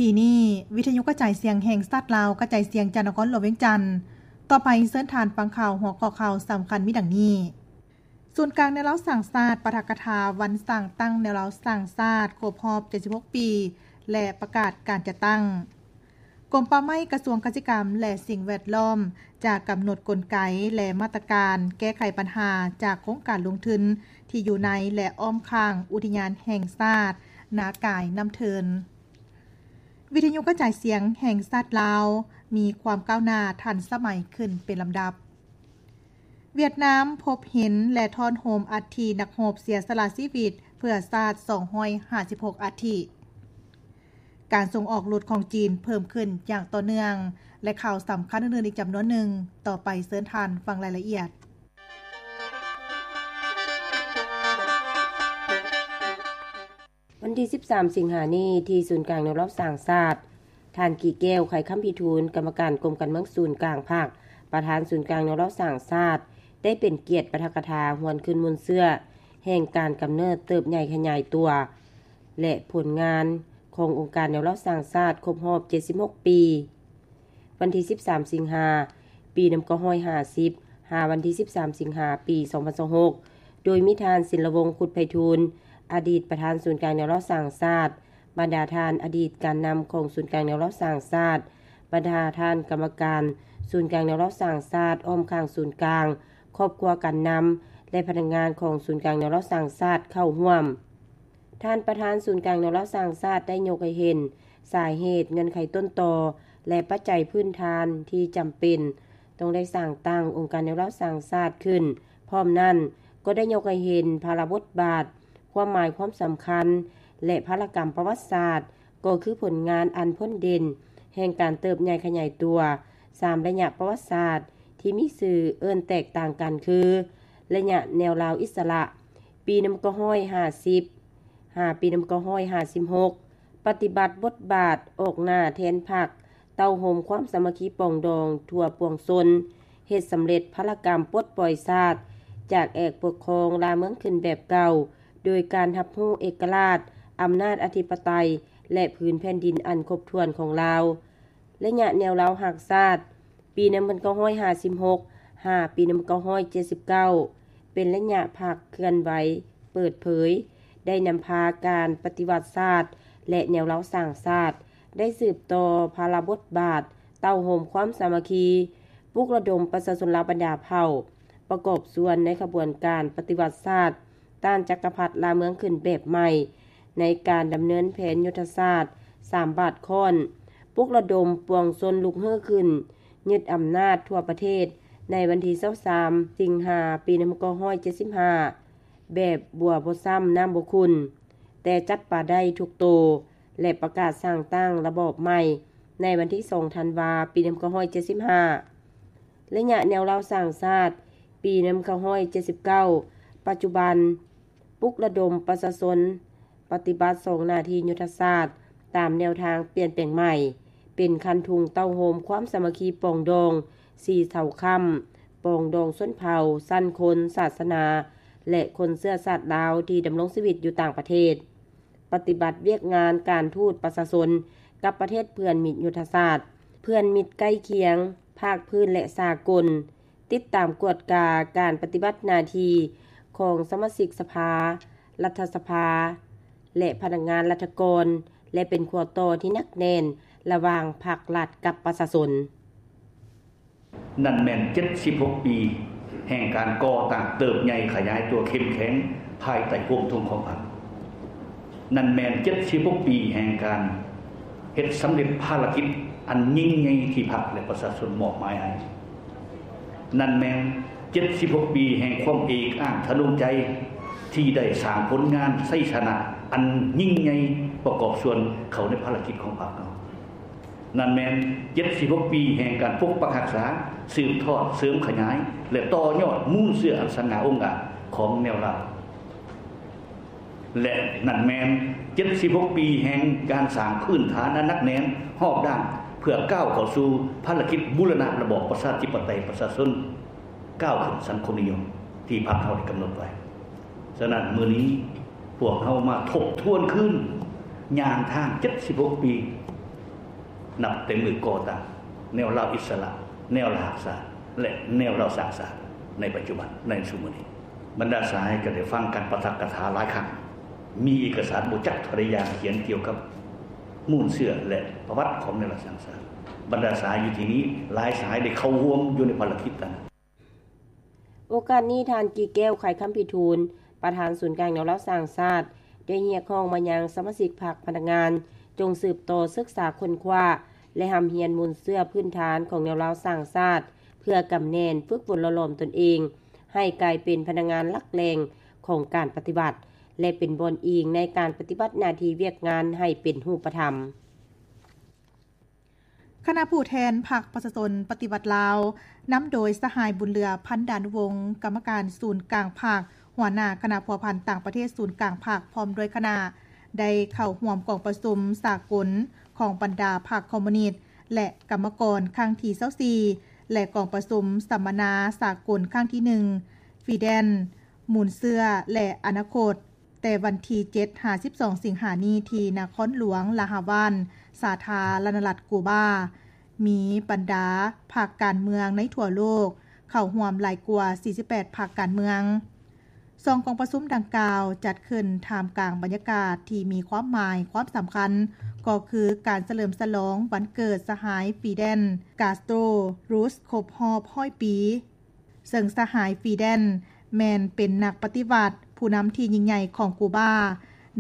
ທີ່ນີ້ ວິທະຍຸກະຈາຍສຽງແຫ່ງຊາດລາວ ກະຈາຍສຽງຈາກນະຄອນຫຼວງວຽງຈັນ. ຕໍ່ໄປເຊີນທ່ານຟັງຂ່າວ ຫົວຂໍ້ຂ່າວສຳຄັນມີດັ່ງນີ້: ສູນກາງແນວລາວສ້າງຊາດ ປາຖະກະຖາວັນສ້າງຕັ້ງແນວລາວສ້າງຊາດ ຄົບຮອບເຈັດສິບຫົກປີ ແລະ ປະກາດການຈັດຕັ້ງ. ກົມປ່າໄມ້ ກະຊວງກະສິກຳ ແລະ ສິ່ງແວດລ້ອມ ຈະກຳນົດກົນໄກ ແລະ ມາດຕະການແກ້ໄຂບັນຫາຈາກໂຄງການລົງທຶນທີ່ຢູ່ໃນ ແລະ ອ້ອມຂ້າງອຸທິຍານແຫ່ງຊາດນາກາຍນ້ຳເທີນ. ວິທະຍຸກະຈາຍສຽງແຫ່ງຊາດລາວ ມີຄວາມກ້າວໜ້າທັນສະໄໝຂຶ້ນເປັນລຳດັບ. ຫວຽດນາມພົບເຫັນ ແລະ ທ້ອນໂຮມອັດຖິນັກຮົບເສຍສະຫຼະຊີວິດເພື່ອຊາດ ສອງຮ້ອຍຫ້າສິບຫົກອັດຖິ. ການສົ່ງອອກລົດຂອງຈີນເພີ່ມຂຶ້ນຢ່າງຕໍ່ເນື່ອງ ແລະ ຂ່າວສຳຄັນອື່ນໆອີກຈຳນວນໜຶ່ງ. ຕໍ່ໄປເຊີນທ່ານຟັງລາຍລະອຽດ. ວັນທີສິບສາມສິງຫານີ້ ທີ່ສູນກາງແນວລາວສ້າງຊາດ, ທ່ານ ກີແກ້ວ ໄຂຄຳພິທູນ, ກຳມະການກົມການເມືອງສູນກາງພັກ, ປະທານສູນກາງແນວລາວສ້າງຊາດ ໄດ້ເປັນກຽດປາຖະກະຖາຫວນຄືນມູນເຊື້ອແຫ່ງການກຳເນີດເຕີບໃຫຍ່ຂະຫຍາຍຕົວ ແລະ ຜົນງານຂອງອົງການແນວລາວສ້າງຊາດຄົບຮອບເຈັດສິບຫົກປີ. ວັນທີສິບສາມສິງຫາ ປີໜຶ່ງພັນເກົ້າຮ້ອຍຫ້າສິບ ຫາວັນທີສິບສາມສິງຫາ ປີສອງພັນຊາວຫົກ ໂດຍມີທ່ານ ສິນລະວົງ ຄຸດໄພທູນ ອະດີດປະທານສູນກາງແນວລາວສ້າງຊາດ, ບັນດາທ່ານອະດີດການນຳຂອງສູນກາງແນວລາວສ້າງຊາດ, ບັນດາທ່ານກຳມະການສູນກາງແນວລາວສ້າງຊາດ ອ້ອມຂ້າງສູນກາງ, ຄອບຄົວການນຳ ແລະ ພະນັກງານຂອງສູນກາງແນວລາວສ້າງຊາດເຂົ້າຮ່ວມ. ທ່ານປະທານສູນກາງແນວລາວສ້າງຊາດໄດ້ຍົກໃຫ້ເຫັນສາເຫດ, ເງື່ອນໄຂຕົ້ນຕໍ ແລະ ປັດໄຈພື້ນຖານທີ່ຈຳເປັນຕ້ອງໄດ້ສ້າງຕັ້ງອົງການແນວລາວສ້າງຊາດຂຶ້ນ. ພ້ອມນັ້ນກໍໄດ້ຍົກໃຫ້ເຫັນພາລະບົດບາດ, ຄວາມໝາຍຄວາມສຳຄັນ ແລະ ພາລະກຳປະຫວັດສາດ ກໍຄືຜົນງານອັນພົ້ນເດັ່ນແຫ່ງການເຕີບໃຫຍ່ຂະຫຍາຍຕົວສາມໄລຍະປະຫວັດສາດທີ່ມີຊື່ເອີ້ນແຕກຕ່າງກັນຄື ໄລຍະແນວລາວອິດສະຫຼະ ປີໜຶ່ງພັນເກົ້າຮ້ອຍຫ້າສິບ ຫາປີໜຶ່ງພັນເກົ້າຮ້ອຍຫ້າສິບຫົກ ປະຕິບັດບົດບາດອອກໜ້າແທນພັກ ເຕົ້າໂຮມຄວາມສາມັກຄີປອງດອງທົ່ວປວງຊົນ, ເຮັດສຳເລັດພາລະກຳປົດປ່ອຍຊາດຈາກແອກປົກຄອງລ່າເມືອງຂຶ້ນແບບເກົ່າ ໂດຍການຮັບຮູ້ເອກະລາດ, ອຳນາດອະທິປະໄຕ ແລະ ພື້ນແຜ່ນດິນອັນຄົບຖ້ວນຂອງລາວ. ໄລຍະແນວລາວຮັກຊາດ ປີໜຶ່ງພັນເກົ້າຮ້ອຍຫ້າສິບຫົກ ຫາປີໜຶ່ງພັນເກົ້າຮ້ອຍເຈັດສິບເກົ້າ ເປັນໄລຍະພັກເຄື່ອນໄຫວເປີດເຜີຍ ໄດ້ນຳພາການປະຕິວັດຊາດ ແລະ ແນວລາວສ້າງຊາດ ໄດ້ສືບຕໍ່ພາລະບົດບາດ ເຕົ້າໂຮມຄວາມສາມັກຄີ, ປຸກລະດົມປະຊາຊົນລາວບັນດາເຜົ່າ ປະກອບສ່ວນໃນຂະບວນການປະຕິວັດຊາດ ຕ້ານຈັກກະພັດລ່າເມືອງຂຶ້ນແບບໃໝ່ ໃນການດຳເນີນແຜນຍຸດທະສາດສາມບາດຄ້ອນ, ປຸກລະດົມປວງຊົນລຸກຮືຂຶ້ນ ຍຶດອຳນາດທົ່ວປະເທດ ໃນວັນທີຊາວສາມສິງຫາ ປີໜຶ່ງພັນເກົ້າຮ້ອຍເຈັດສິບຫ້າ ແບບບົວບໍ່ຊ້ຳນ້ຳບໍ່ຂຸ່ນ, ແຕ່ຈັບປາໄດ້ທຸກໂຕ ແລະ ປະກາດສ້າງຕັ້ງລະບອບໃໝ່ ໃນວັນທີສອງທັນວາ ປີໜຶ່ງພັນເກົ້າຮ້ອຍເຈັດສິບຫ້າ. ໄລຍະແນວລາວສ້າງຊາດ ປີໜຶ່ງພັນເກົ້າຮ້ອຍເຈັດສິບເກົ້າ ປັດຈຸບັນ ປຸກລະດົມປະຊາຊົນປະຕິບັດສອງໜ້າທີ່ຍຸດທະສາດ ຕາມແນວທາງປ່ຽນແປງໃໝ່ ເປັນຄັນທຸງເຕົ້າໂຮມຄວາມສາມັກຄີປອງດອງສີ່ເສົາຄ້ຳ, ປອງດອງຊົນເຜົ່າ, ຊັ້ນຄົນ, ສາສະໜາ ແລະ ຄົນເຊື້ອຊາດລາວທີ່ດຳລົງຊີວິດຢູ່ຕ່າງປະເທດ. ປະຕິບັດວຽກງານການທູດປະຊາຊົນກັບປະເທດເພື່ອນມິດຍຸດທະສາດ, ເພື່ອນມິດໃກ້ຄຽງ, ພາກພື້ນ ແລະ ສາກົນ, ຕິດຕາມກວດກາການປະຕິບັດໜ້າທີ່ຂອງສະມາຊິກສະພາ, ລັດຖະສະພາ ແລະ ພະນັກງານລັດຖະກອນ ແລະ ເປັນຂົວຕໍ່ທີ່ໜັກແໜ້ນລະຫວ່າງພັກລັດກັບປະຊາຊົນ. ນັ້ນແມ່ນເຈັດສິບຫົກປີແຫ່ງການກໍ່ຕັ້ງເຕີບໃຫຍ່ຂະຫຍາຍຕົວເຂັ້ມແຂງພາຍໃຕ້ໂຮມທຸງຂອງພັກ. ນັ້ນແມ່ນເຈັດສິບຫົກປີແຫ່ງການເຮັດສຳເລັດພາລະກິດອັນຍິ່ງໃຫຍ່ທີ່ພັກ ແລະ ປະຊາຊົນມອບໝາຍໃຫ້. ນັ້ນແມ່ນເຈັດສິບຫົກປີແຫ່ງຄວາມເອກອ້າງທະນົງໃຈ ທີ່ໄດ້ສ້າງຜົນງານໄຊຊະນະອັນຍິ່ງໃຫຍ່ປະກອບສ່ວນເຂົ້າໃນພາລະກິດຂອງພັກເຮົາ. ນັ້ນແມ່ນເຈັດສິບຫົກປີແຫ່ງການປົກປັກຮັກສາ, ສືບທອດ, ເສີມຂະຫຍາຍ ແລະ ຕໍ່ຍອດມູນເຊື້ອອັນສັງຫາອົງອາດຂອງແນວລາວ. ແລະ ນັ້ນແມ່ນເຈັດສິບຫົກປີແຫ່ງການສ້າງພື້ນຖານອັນໜັກແໜ້ນຮອບດ້ານ ເພື່ອກ້າວເຂົ້າສູ່ພາລະກິດບູລະນະລະບອບປະຊາທິປະໄຕປະຊາຊົນ ກ້າວຂຶ້ນສັງຄົມນິຍົມທີ່ພັກເຮົາໄດ້ກຳນົດໄວ້. ສະນັ້ນ ມື້ນີ້ພວກເຮົາມາທົບທວນຄືນ ຍ່າງທາງເຈັດສິບຫົກປີ ນັບແຕ່ມື້ກໍ່ຕັ້ງແນວລາວອິດສະຫຼະ, ແນວລາວຮັກຊາດ ແລະ ແນວລາວສ້າງຊາດໃນປັດຈຸບັນ, ໃນຊຸມມື້ນີ້. ບັນດາສະຫາຍກໍໄດ້ຟັງການປາຖະກະຖາຫຼາຍຄັ້ງ, ມີເອກະສານບໍ່ຈັກເທົ່າໃດຢ່າງຂຽນກ່ຽວກັບມູນເຊື້ອ ແລະ ປະຫວັດຂອງແນວລາວສ້າງຊາດ. ບັນດາສະຫາຍຢູ່ທີ່ນີ້ ຫຼາຍສະຫາຍໄດ້ເຂົ້າຮ່ວມຢູ່ໃນພາລະກິດນັ້ນ. ໂອກາດນີ້ ທ່ານ ກີແກ້ວ ໄຂຄຳພິທູນ ປະທານສູນກາງແນວລາວສ້າງຊາດ ໄດ້ຮຽກຮ້ອງມາຍັງສະມາຊິກພັກພະນັກງານ ຈົ່ງສືບຕໍ່ສຶກສາຄົ້ນຄວ້າ ແລະ ຮ່ຳຮຽນມູນເຊື້ອພື້ນຖານຂອງແນວລາວສ້າງຊາດ ເພື່ອກຳແໜ້ນຝຶກຝົນຫຼໍ່ຫຼອມຕົນເອງ ໃຫ້ກາຍເປັນພະນັກງານຫຼັກແຫຼ່ງຂອງການປະຕິວັດ ແລະ ເປັນບ່ອນອີງໃນການປະຕິບັດໜ້າທີ່ວຽກງານໃຫ້ເປັນຮູບປະທຳ. ຄະນະຜູ້ແທນພັກປະຊາຊົນປະຕິວັດລາວ ນຳໂດຍສະຫາຍ ບຸນເຫຼືອ ພັນດານຸວົງ ກຳມະການສູນກາງພັກ, ຫົວໜ້າຄະນະພົວພັນຕ່າງປະເທດສູນກາງພັກ ພ້ອມດ້ວຍຄະນະ ໄດ້ເຂົ້າຮ່ວມກອງປະຊຸມສາກົນຂອງບັນດາພັກຄອມມູນິດ ແລະ ກຳມະກອນ ຄັ້ງທີຊາວສີ່ ແລະ ກອງປະຊຸມສຳມະນາສາກົນຄັ້ງທີໜຶ່ງ ຟີແດນ ມູນເຊື້ອ ແລະ ອະນາຄົດ ແຕ່ວັນທີເຈັດຫາສິບສອງສິງຫານີ້ ທີ່ນະຄອນຫຼວງລາຮາວານ ສາທາລະນະລັດກູບາ, ມີບັນດາພັກການເມືອງໃນທົ່ວໂລກເຂົ້າຮ່ວມຫຼາຍກວ່າສີ່ສິບແປດພັກການເມືອງ. ສອງກອງປະຊຸມດັ່ງກ່າວຈັດຂຶ້ນທ່າມກາງບັນຍາກາດທີ່ມີຄວາມໝາຍຄວາມສຳຄັນ ກໍຄືການສະເຫຼີມສະຫຼອງວັນເກີດສະຫາຍ ຟີແດນ ກາສໂຕຣ ຣູສ ຄົບຮອບຮ້ອຍປີ. ເຊິ່ງສະຫາຍ ຟີແດນ ແມ່ນເປັນນັກປະຕິວັດຜູ້ນຳທີ່ຍິ່ງໃຫຍ່ຂອງກູບາ,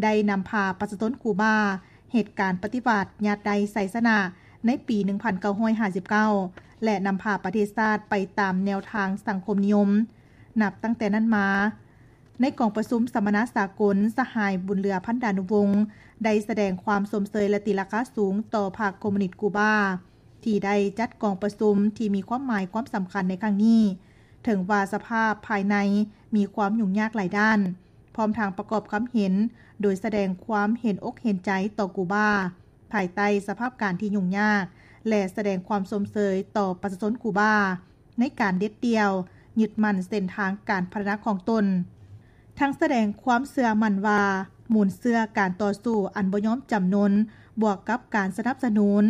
ໄດ້ນຳພາປະຊາຊົນກູບາເຮັດການປະຕິວັດຍາດໄດ້ໄຊຊະນະໃນປີໜຶ່ງພັນເກົ້າຮ້ອຍຫ້າສິບເກົ້າ ແລະ ນຳພາປະເທດຊາດໄປຕາມແນວທາງສັງຄົມນິຍົມ. ນັບຕັ້ງແຕ່ນັ້ນມາ, ໃນກອງປະຊຸມສຳມະນາສາກົນ, ສະຫາຍ ບຸນເຫຼືອ ພັນດານຸວົງ ໄດ້ສະແດງຄວາມຊົມເຊີຍ ແລະ ຕີລາຄາສູງຕໍ່ພັກຄອມມູນິດກູບາ ທີ່ໄດ້ຈັດກອງປະຊຸມທີ່ມີຄວາມໝາຍຄວາມສຳຄັນໃນຄັ້ງນີ້. ເຖິງວ່າສະພາບພາຍໃນມີຄວາມຫຍຸ້ງຍາກຫຼາຍດ້ານ, ພ້ອມທັງປະກອບຄຳເຫັນໂດຍສະແດງຄວາມເຫັນອົກເຫັນໃຈຕໍ່ກູບາ ພາຍໃຕ້ສະພາບການທີ່ຫຍຸ້ງຍາກ ແລະ ສະແດງຄວາມຊົມເຊີຍຕໍ່ປະຊາຊົນກູບາ ໃນການເດັດດ່ຽວຍຶດໝັ້ນເສັ້ນທາງການພັດທະນາຂອງຕົນ, ທັງສະແດງຄວາມເຊື່ອໝັ້ນວ່າ ມູນເຊື້ອການຕໍ່ສູ້ອັນບໍ່ຍອມຈຳນົນ ບວກກັບການສະໜັບສະໜູນ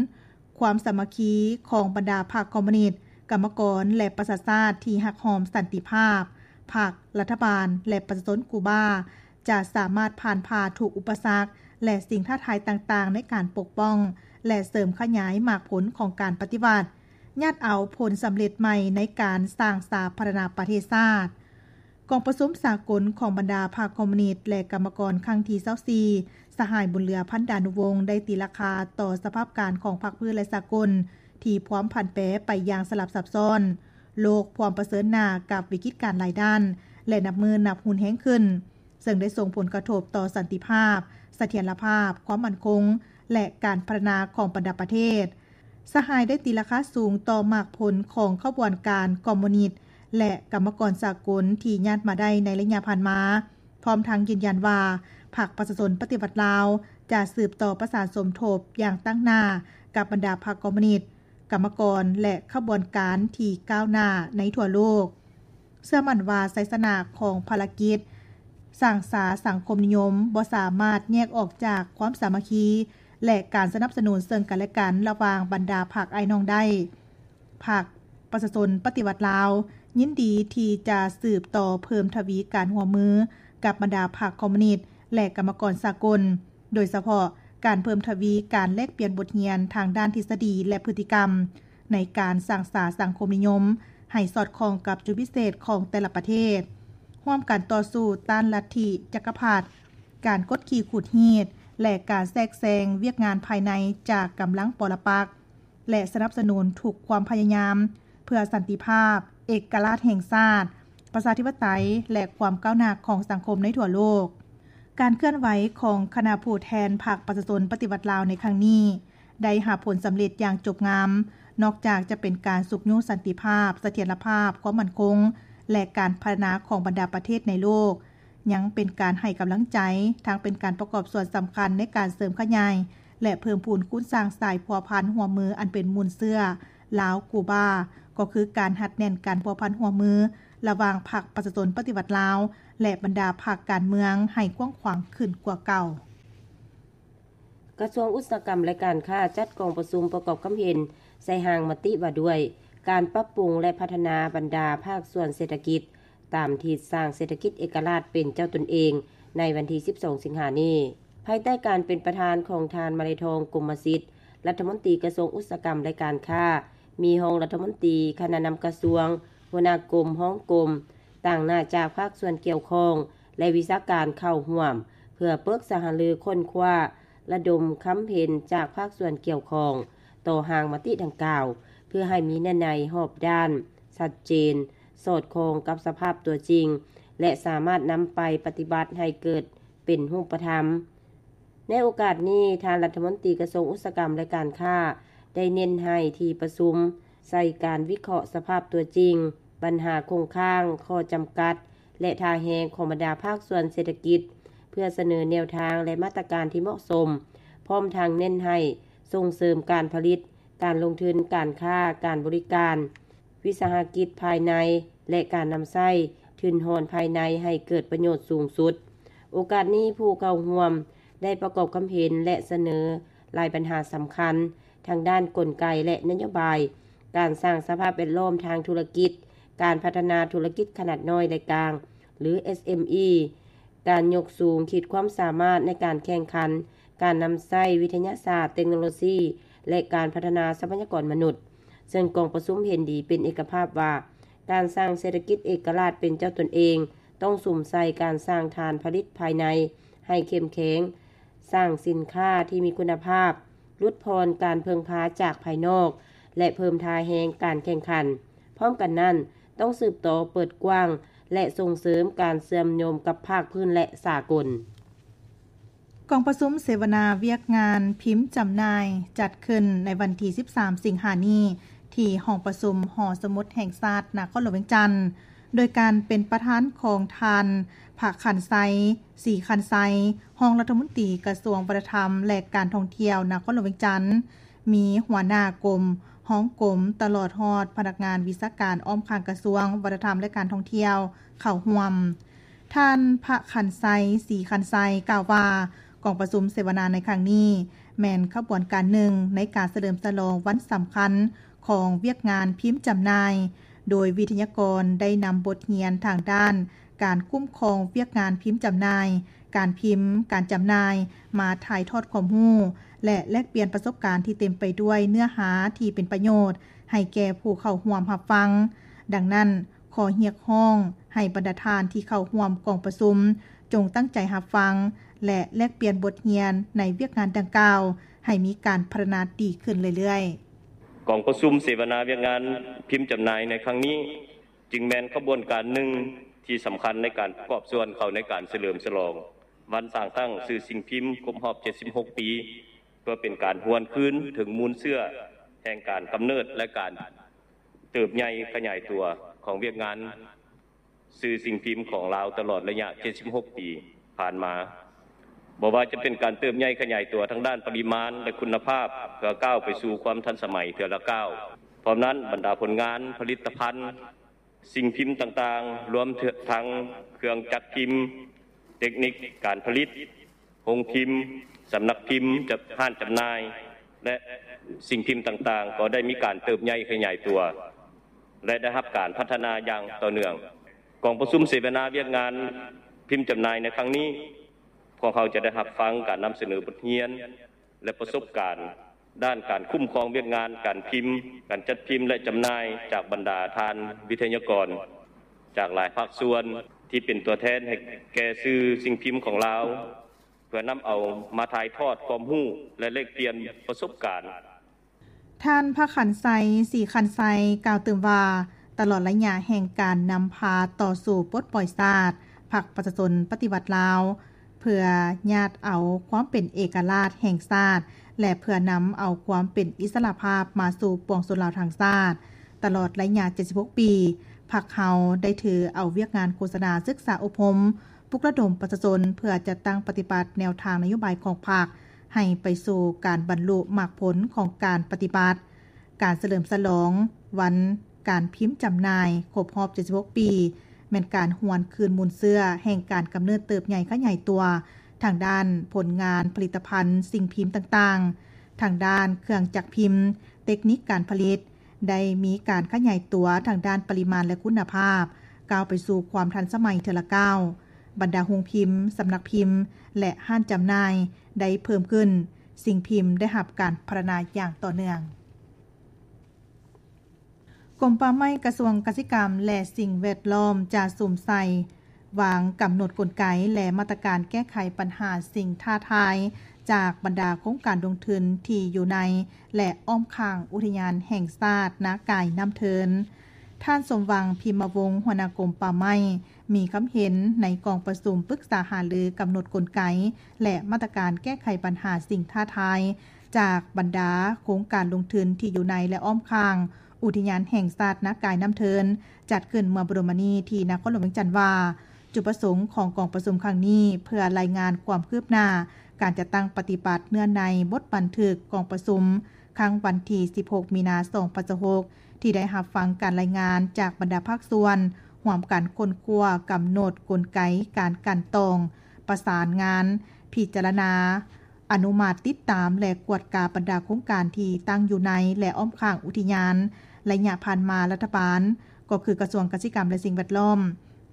ຄວາມສາມັກຄີຂອງບັນດາພັກຄອມມູນິດ, ກຳມະກອນ ແລະ ປະຊາຊາດທີ່ຮັກຫອມສັນຕິພາບ, ພັກ, ລັດຖະບານ ແລະ ປະຊາຊົນກູບາ ຈະສາມາດຜ່ານຜ່າທຸກອຸປະສັກ ແລະ ສິ່ງທ້າທາຍຕ່າງໆ ໃນການປົກປ້ອງ ແລະ ເສີມຂະຫຍາຍໝາກຜົນຂອງການປະຕິວັດ, ຍາດເອົາຜົນສຳເລັດໃໝ່ໃນການສ້າງສາພັດທະນາປະເທດຊາດ. ກອງປະຊຸມສາກົນຂອງບັນດາພັກຄອມມູນິດ ແລະ ກຳມະກອນຄັ້ງທີຊາວສີ່ ສະຫາຍ ບຸນເຫຼືອ ພັນດານຸວົງ ໄດ້ຕີລາຄາຕໍ່ສະພາບການຂອງພາກພື້ນ ແລະ ສາກົນ ທີ່ພວມຜັນແປໄປຢ່າງສະຫຼັບຊັບຊ້ອນ, ໂລກພວມປະເຊີນໜ້າກັບວິກິດການຫຼາຍດ້ານ ແລະ ນັບມື້ນັບຮຸນແຮງຂຶ້ນ, ເຊິ່ງໄດ້ສົ່ງຜົນກະທົບຕໍ່ສັນຕິພາບ, ສະຖຽນລະພາບ, ຄວາມໝັ້ນຄົງ ແລະ ການພັດທະນາຂອງບັນດາປະເທດ. ສະຫາຍໄດ້ຕີລາຄາສູງຕໍ່ໝາກຜົນຂອງຂະບວນການຄອມມູນິດ ແລະ ກຳມະກອນສາກົນທີ່ຍາດມາໄດ້ໃນໄລຍະຜ່ານມາ, ພ້ອມທັງຢືນຢັນວ່າ ພັກປະຊາຊົນປະຕິວັດລາວ ຈະສືບຕໍ່ປະສານສົມທົບຢ່າງຕັ້ງໜ້າກັບບັນດາພັກຄອມມູນິດ, ກຳມະກອນ ແລະ ຂະບວນການທີ່ກ້າວໜ້າໃນທົ່ວໂລກ. ເຊື່ອໝັ້ນວ່າໄຊຊະນະຂອງພາລະກິດສ້າງສາສັງຄົມນິຍົມບໍ່ສາມາດແຍກອອກຈາກຄວາມສາມັກຄີ ແລະ ການສະໜັບສະໜູນເຊິ່ງກັນ ແລະ ກັນ ລະຫວ່າງບັນດາພັກອ້າຍນ້ອງໄດ້. ພັກປະຊາຊົນປະຕິວັດລາວ ຍິນດີທີ່ຈະສືບຕໍ່ເພີ່ມທະວີການຮ່ວມມືກັບບັນດາພັກຄອມມູນິດ ແລະ ກຳມະກອນສາກົນ, ໂດຍສະເພາະການເພີ່ມທະວີການແລກປ່ຽນບົດຮຽນທາງດ້ານທິດສະດີ ແລະ ພຶດຕິກຳ ໃນການສ້າງສາສັງຄົມນິຍົມໃຫ້ສອດຄ່ອງກັບຈຸດພິເສດຂອງແຕ່ລະປະເທດ, ຮ່ວມກັນຕໍ່ສູ້ຕ້ານລັດທິຈັກກະພັດ, ການກົດຂີ່ຂູດຮີດ ແລະ ການແຊກແຊງວຽກງານພາຍໃນຈາກກຳລັງປໍລະປັກ ແລະ ສະໜັບສະໜູນທຸກຄວາມພະຍາຍາມເພື່ອສັນຕິພາບ, ເອກະລາດແຫ່ງຊາດ, ປະຊາທິປະໄຕ ແລະ ຄວາມກ້າວໜ້າຂອງສັງຄົມໃນທົ່ວໂລກ. ການເຄື່ອນໄຫວຂອງຄະນະຜູ້ແທນພັກປະຊາຊົນປະຕິວັດລາວໃນຄັ້ງນີ້ ໄດ້ຮັບຜົນສຳເລັດຢ່າງຈົບງາມ, ນອກຈາກຈະເປັນການຊຸກຍູ້ສັນຕິພາບ, ສະຖຽນລະພາບ, ຄວາມໝັ້ນຄົງ ແລະ ການພັດທະນາຂອງບັນດາປະເທດໃນໂລກ, ຍັງເປັນການໃຫ້ກຳລັງໃຈ, ທັງເປັນການປະກອບສ່ວນສຳຄັນໃນການເສີມຂະຫຍາຍ ແລະ ເພີ່ມພູນຄູນສ້າງສາຍພົວພັນຮ່ວມມືອັນເປັນມູນເຊື້ອລາວ-ກູບາ, ກໍຄືການຮັດແໜ້ນການພົວພັນຮ່ວມມືລະຫວ່າງພັກປະຊາຊົນປະຕິວັດລາວ ແລະ ບັນດາພັກການເມືອງໃຫ້ກວ້າງຂວາງຂຶ້ນກວ່າເກົ່າ. ກະຊວງອຸດສາຫະກຳ ແລະ ການຄ້າ ຈັດກອງປະຊຸມປະກອບຄຳເຫັນໃສ່ຮ່າງມະຕິວ່າດ້ວຍ ການປັບປຸງ ແລະ ພັດທະນາບັນດາພາກສ່ວນເສດຖະກິດ ຕາມທິດສ້າງເສດຖະກິດເອກະລາດເປັນເຈົ້າຕົນເອງ ໃນວັນທີສິບສອງ ສິງຫານີ້. ພາຍໃຕ້ການເປັນປະທານຂອງທ່ານ ມະໄລທອງ ກົມມະສິດ ລັດຖະມົນຕີກະຊວງອຸດສາຫະກຳ ແລະ ການຄ້າ, ມີຮອງລັດຖະມົນຕີ, ຄະນະນຳກະຊວງ, ຫົວໜ້າກົມ, ຮອງກົມ, ຕາງໜ້າຈາກພາກສ່ວນກ່ຽວຂ້ອງ ແລະ ວິຊາການເຂົ້າຮ່ວມ ເພື່ອປຶກສາຫາລືຄົ້ນຄວ້າ ລະດົມຄຳເຫັນຈາກພາກສ່ວນກ່ຽວຂ້ອງຕໍ່ຮ່າງມະຕິດັ່ງກ່າວ ເພື່ອໃຫ້ມີເນື້ອໃນຮອບດ້ານ, ຊັດເຈນ, ສອດຄ່ອງກັບສະພາບຕົວຈິງ ແລະ ສາມາດນຳໄປປະຕິບັດໃຫ້ເກີດເປັນຮູບປະທຳ. ໃນໂອກາດນີ້, ທ່ານລັດຖະມົນຕີກະຊວງອຸດສາຫະກຳ ແລະ ການຄ້າ ໄດ້ເນັ້ນໃຫ້ທີ່ປະຊຸມໃສ່ການວິເຄາະສະພາບຕົວຈິງ, ບັນຫາຄົງຄ້າງ, ຂໍ້ຈຳກັດ ແລະ ທ່າແຮງຂອງບັນດາພາກສ່ວນເສດຖະກິດ ເພື່ອສະເໜີແນວທາງ ແລະ ມາດຕະການທີ່ເໝາະສົມ, ພ້ອມທັງເນັ້ນໃຫ້ສົ່ງເສີມການຜະລິດ, ການລົງທຶນ, ການຄ້າ, ການບໍລິການ, ວິສາຫະກິດພາຍໃນ ແລະ ການນຳໃຊ້ທຶນຮອນພາຍໃນໃຫ້ເກີດປະໂຫຍດສູງສຸດ. ໂອກາດນີ້, ຜູ້ເຂົ້າຮ່ວມໄດ້ປະກອບຄຳເຫັນ ແລະ ສະເໜີຫຼາຍບັນຫາສຳຄັນ ທັງດ້ານກົນໄກ ແລະ ນະໂຍບາຍ, ການສ້າງສະພາບແວດລ້ອມທາງທຸລະກິດ, ການພັດທະນາທຸລະກິດຂະໜາດນ້ອຍ ແລະ ກາງ ຫຼື ເອສເອັມອີ, ການຍົກສູງຂີດຄວາມສາມາດໃນການແຂ່ງຂັນ, ການນຳໃຊ້ວິທະຍາສາດ, ເຕັກໂນໂລຊີ ແລະ ການພັດທະນາຊັບພະຍາກອນມະນຸດ, ເຊິ່ງກອງປະຊຸມເຫັນດີເປັນເອກະພາບວ່າ ການສ້າງເສດຖະກິດເອກະລາດເປັນເຈົ້າຕົນເອງ ຕ້ອງສຸມໃສ່ການສ້າງຖານຜະລິດພາຍໃນໃຫ້ເຂັ້ມແຂງ, ສ້າງສິນຄ້າທີ່ມີຄຸນນະພາບ, ຫຼຸດຜ່ອນການເພິ່ງພາຈາກພາຍນອກ ແລະ ເພີ່ມທ່າແຮງການແຂ່ງຂັນ. ພ້ອມກັນນັ້ນ, ຕ້ອງສືບຕໍ່ເປີດກວ້າງ ແລະ ສົ່ງເສີມການເຊື່ອມໂຍງກັບພາກພື້ນ ແລະ ສາກົນ. ກອງປະຊຸມເສວະນາວຽກງານພິມຈຳໜ່າຍ ຈັດຂຶ້ນໃນວັນທີສິບສາມ ສິງຫານີ້ ທີ່ຫ້ອງປະຊຸມຫໍສະໝຸດແຫ່ງຊາດ ນະຄອນຫຼວງວຽງຈັນ, ໂດຍການເປັນປະທານຂອງທ່ານ ພະຂັນໄຊ ສີຂັນໄຊ, ຮອງລັດຖະມົນຕີກະຊວງວັດທະນະທຳ ແລະ ການທ່ອງທ່ຽວ ນະຄອນຫຼວງວຽງຈັນ, ມີຫົວໜ້າກົມ, ຮອງກົມ, ຕະຫຼອດຮອດພະນັກງານວິຊາການອ້ອມຂ້າງກະຊວງວັດທະນະທຳ ແລະ ການທ່ອງທ່ຽວ ເຂົ້າຮ່ວມ. ທ່ານ ພະຂັນໄຊ ສີຂັນໄຊ ກ່າວວ່າ ກອງປະຊຸມເສວະນາໃນຄັ້ງນີ້ ແມ່ນຂະບວນການໜຶ່ງໃນການສະເຫຼີມສະຫຼອງວັນສຳຄັນຂອງວຽກງານພິມຈຳໜ່າຍ, ໂດຍວິທະຍາກອນໄດ້ນຳບົດຮຽນທາງດ້ານການຄຸ້ມຄອງວຽກງານພິມຈຳໜ່າຍ, ການພິມ, ການຈຳໜ່າຍ ມາຖ່າຍທອດຄວາມຮູ້ ແລະ ແລກປ່ຽນປະສົບການທີ່ເຕັມໄປດ້ວຍເນື້ອຫາທີ່ເປັນປະໂຫຍດໃຫ້ແກ່ຜູ້ເຂົ້າຮ່ວມຮັບຟັງ. ດັ່ງນັ້ນ, ຂໍຮຽກຮ້ອງໃຫ້ບັນດາທ່ານທີ່ເຂົ້າຮ່ວມກອງປະຊຸມ ຈົ່ງຕັ້ງໃຈຮັບຟັງ ແລະ ແລກປ່ຽນບົດຮຽນໃນວຽກງານດັ່ງກ່າວ ໃຫ້ມີການພັດທະນາດີຂຶ້ນເລື້ອຍໆ. ກອງປະຊຸມເສວະນາວຽກງານພິມຈຳໜ່າຍໃນຄັ້ງນີ້ ຈຶ່ງແມ່ນຂະບວນການໜຶ່ງທີ່ສຳຄັນໃນການປະກອບສ່ວນເຂົ້າໃນການສະເຫຼີມສະຫຼອງວັນສ້າງຕັ້ງສື່ສິ່ງພິມຄົບຮອບເຈັດສິບຫົກປີ ເພື່ອເປັນການຫວນຄືນເຖິງມູນເຊື້ອແຫ່ງການກຳເນີດ ແລະ ການເຕີບໃຫຍ່ຂະຫຍາຍຕົວຂອງວຽກງານ ສື່ສິ່ງພິມຂອງລາວຕະຫຼອດໄລຍະເຈັດສິບຫົກປີຜ່ານມາ, ບໍ່ວ່າຈະເປັນການເຕີບໃຫຍ່ຂະຫຍາຍຕົວທາງດ້ານປະລິມານ ແລະ ຄຸນນະພາບ ເພື່ອກ້າວໄປສູ່ຄວາມທັນສະໄໝເທື່ອລະກ້າວ. ພ້ອມນັ້ນ, ບັນດາຜົນງານ, ຜະລິດຕະພັນ, ສິ່ງພິມຕ່າງໆ, ລວມທັງເຄື່ອງຈັກພິມ, ເຕັກນິກການຜະລິດ, ໂຮງພິມ, ສຳນັກພິມ, ຈະ ຮ້ານຈຳໜ່າຍ ແລະ ສິ່ງພິມຕ່າງໆ ກໍໄດ້ມີການເຕີບໃຫຍ່ຂະຫຍາຍຕົວ ແລະ ໄດ້ຮັບການພັດທະນາຢ່າງຕໍ່ເນື່ອງ. ກອງປະຊຸມເສວະນາວຽກງານພິມຈຳໜ່າຍໃນຄັ້ງນີ້, ພວກເຮົາຈະໄດ້ຮັບຟັງການນຳສະເໜີບົດຮຽນ ແລະ ປະສົບການດ້ານການຄຸ້ມຄອງວຽກງານການພິມ, ການຈັດພິມ ແລະ ຈຳໜ່າຍ ຈາກບັນດາທ່ານວິທະຍາກອນຈາກຫຼາຍພາກສ່ວນ ທີ່ເປັນຕົວແທນໃຫ້ແກ່ສື່ສິ່ງພິມຂອງລາວ ເພື່ອນຳເອົາມາຖ່າຍທອດຄວາມຮູ້ ແລະ ແລກປ່ຽນປະສົບການ. ທ່ານ ພະຂັນໄຊ ສີຂັນໄຊ ກ່າວຕື່ມວ່າ, ຕະຫຼອດໄລຍະແຫ່ງການນຳພາຕໍ່ສູ້ປົດປ່ອຍຊາດ, ພັກປະຊາຊົນປະຕິວັດລາວ ເພື່ອຍາດເອົາຄວາມເປັນເອກະລາດແຫ່ງຊາດ ແລະ ເພື່ອນຳເອົາຄວາມເປັນອິດສະຫຼະພາບມາສູ່ປວງຊົນລາວທັງຊາດ. ຕະຫຼອດໄລຍະເຈັດສິບຫົກປີ, ພັກເຮົາໄດ້ຖືເອົາວຽກງານໂຄສະນາ, ສຶກສາອົບຮົມ, ປຸກລະດົມປະຊາຊົນ ເພື່ອຈັດຕັ້ງປະຕິບັດແນວທາງນະໂຍບາຍຂອງພັກ ໃຫ້ໄປສູ່ການບັນລຸໝາກຜົນຂອງການປະຕິບັດ. ການສະເຫຼີມສະຫຼອງວັນການພິມຈຳໜ່າຍຄົບຮອບເຈັດສິບຫົກປີ ແມ່ນການຫວນຄືນມູນເຊື້ອແຫ່ງການກຳເນີດເຕີບໃຫຍ່ຂະຫຍາຍຕົວ ທາງດ້ານຜົນງານຜະລິດຕະພັນສິ່ງພິມຕ່າງໆ, ທາງດ້ານເຄື່ອງຈັກພິມ, ເຕັກນິກການຜະລິດ, ໄດ້ມີການຂະຫຍາຍຕົວທາງດ້ານປະລິມານ ແລະ ຄຸນນະພາບ, ກ້າວໄປສູ່ຄວາມທັນສະໄໝເທື່ອລະກ້າວ. ບັນດາໂຮງພິມ, ສຳນັກພິມ ແລະ ຮ້ານຈຳໜ່າຍໄດ້ເພີ່ມຂຶ້ນ, ສິ່ງພິມໄດ້ຮັບການພັດທະນາຢ່າງຕໍ່ເນື່ອງ. ກົມປ່າໄມ້, ກະຊວງກະສິກຳ ແລະ ສິ່ງແວດລ້ອມ ຈະສຸມໃສ່ວາງກຳນົດກົນໄກ ແລະ ມາດຕະການແກ້ໄຂບັນຫາສິ່ງທ້າທາຍ ຈາກບັນດາໂຄງການລົງທຶນທີ່ຢູ່ໃນ ແລະ ອ້ອມຂ້າງອຸທະຍານແຫ່ງຊາດນາກາຍນ້ຳເທີນ. ທ່ານ ສົມຫວັງ ພິມມະວົງ ຫົວໜ້າກົມປ່າໄມ້ ມີຄຳເຫັນໃນກອງປະຊຸມປຶກສາຫາລືກຳນົດກົນໄກ ແລະ ມາດຕະການແກ້ໄຂບັນຫາສິ່ງທ້າທາຍ ຈາກບັນດາໂຄງການລົງທຶນທີ່ຢູ່ໃນ ແລະ ອ້ອມຂ້າງອຸທະຍານແຫ່ງຊາດນາກາຍນ້ຳເທີນ ຈັດຂຶ້ນເມື່ອບໍ່ດົນມານີ້ທີ່ນະຄອນຫຼວງວຽງຈັນວ່າ ຈຸດປະສົງຂອງກອງປະຊຸມຄັ້ງນີ້ ເພື່ອລາຍງານຄວາມຄືບໜ້າການຈັດຕັ້ງປະຕິບັດເນື້ອໃນບົດບັນທຶກກອງປະຊຸມ ຄັ້ງວັນທີສິບຫົກ ມີນາ ສອງພັນຊາວຫົກ ທີ່ໄດ້ຮັບຟັງການລາຍງານຈາກບັນດາພາກສ່ວນ, ຮ່ວມກັນຄົ້ນຄວ້າ, ກຳນົດກົນໄກການກັ່ນຕອງ, ປະສານງານ, ພິຈາລະນາ, ອະນຸມັດ, ຕິດຕາມ ແລະ ກວດກາບັນດາໂຄງການທີ່ຕັ້ງຢູ່ໃນ ແລະ ອ້ອມຂ້າງອຸທິຍານ. ໄລຍະຜ່ານມາ, ລັດຖະບານ, ກໍຄືກະຊວງກະສິກຳ ແລະ ສິ່ງແວດລ້ອມ,